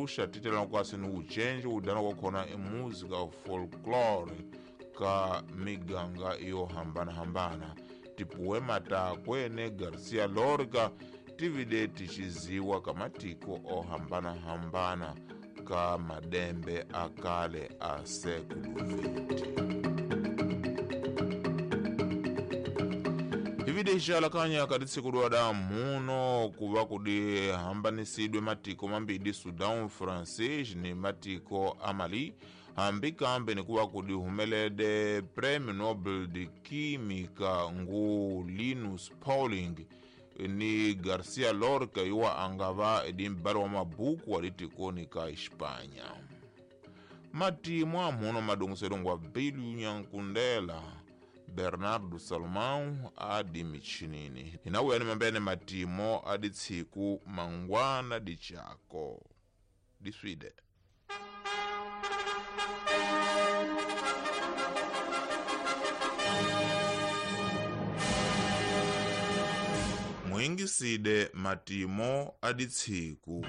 Xuxa titelana kwasi ni wucenji wudana kwakhona emúsica folklore ka miganga yo hambanahambana. Tipoema takwe ne Garcia Lorca tivide ticiziwa ka matiko ohambanahambana ka madembe akale a século XX. Ivide ixalakanya kati tsiku lwa muno kuva kudi hambanisidwe matiko mambidi Sudan Francais ni matiko a Mali, hambi kambe ni kuva kudi humelede Premio Nobel de Química ngu Linus Pauling ni Garcia Lorca yuwa angava edi mbali wa mabuku wa litikoni ka Hispania. Matimu amuno madongoselongwa ngwa Bilu Nyankundela Bernardo Salomão adi michinini inawuyani mambene matimo adi tsiku mangwana di chako diswide. Mwingiside matimo adi tsiku.